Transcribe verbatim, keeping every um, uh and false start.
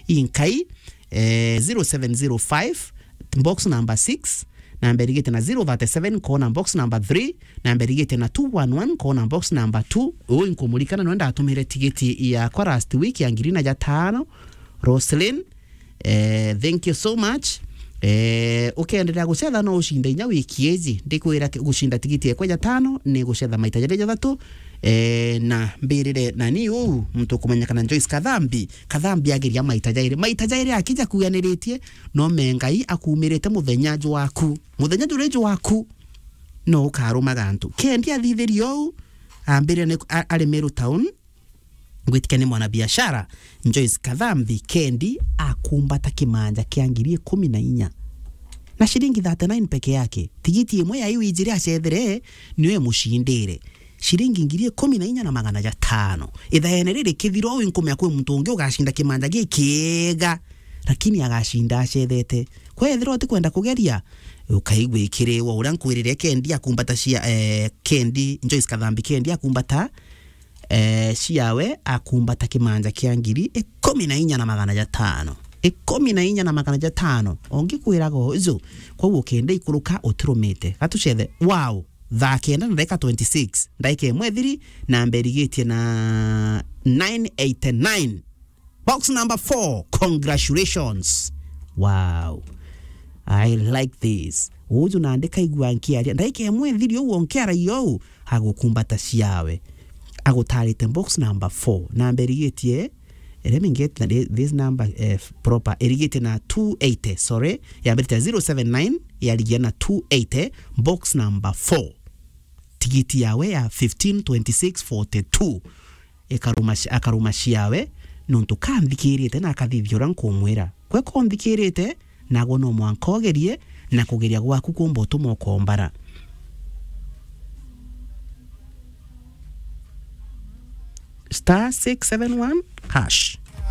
inkai, eh, zero seven zero five, box number six, namba irigite na zero thirty-seven, kona box number three, namba irigite na two one one, kona box number two. Uu inkumurikana nwe ndatumire tigiti yakwa last week ya ngiri na ja tano, Roslyn. Eh, thank you so much. Eh, ukenderea gucetha no ucinde inya wiki iji. Ndikwira ki-, gucinda tigiti ekwa ja tano ni gucetha maita jaria jathatu. Eh, na mbirire nani uu muntu ukumenyekana Joyce Kathambi. Kathambi ageria maita jairi. Maita jairi akija kuaniritie, no me Ngai akumirite muthenya jwaku. Muthenya juria jwaku, no ukarumaga antu. Kendi athithirie uu, ambire ni a-, ari Meru Town. Ngwitikia ni mwanabiashara, Joyce Kathambi, kendi akumbata kimanja kia ngiri ikumi na inya na ciringi thirty-nine peke yake. Tigiti imwe ya iu ijiri acethere, niyo imucindire ciringi ngiri ikumi na inya na magana jatano. Ithaene riri kithira uu inkumea kwi muntu ungi ugacinda kimanja gikiega, lakini agacinda acethete. Kwethirwa utikwenda kugeria, ukaigua ikiriwa uria nkwirire kendi akumbata cia, eh, kendi, Joyce Kathambi kendi akumbata, eh, ciawe akumbata kimanja kia ngiri ikumi na inya na magana jatano. Ikumi na inya na magana jatano. Ongikwiraga uju, kwou ukenda ikuruka utirumite. Gatucethe, wow, thaa kenda na ndagika twenty-six. Ndagika imwe ithiri, namba irigitie na nine eighty-nine. Box number four, congratulations. Wow. I like this. Uju nandi kaigua nkiaria. Ndagika imwe ithiri uu onkiaragia uu, agukumbata ciawe. Agutarite box number four. Namba irigitie, let me get the, this number, eh, proper. Irigitie na two eighty, sorry. Yambirite zero seven nine, yarigia na two eighty, box number four. Tigiti yawe ya fifteen twenty-six forty-two. Ikaruma ci-, akaruma ciawe, nontu kanthikirite na akathithia uria nkumwira. Gwe konthikirite, nagwe no mwanka ugerie, na kugeria gwaku kumba utuma ukombara. Star six seven one hash.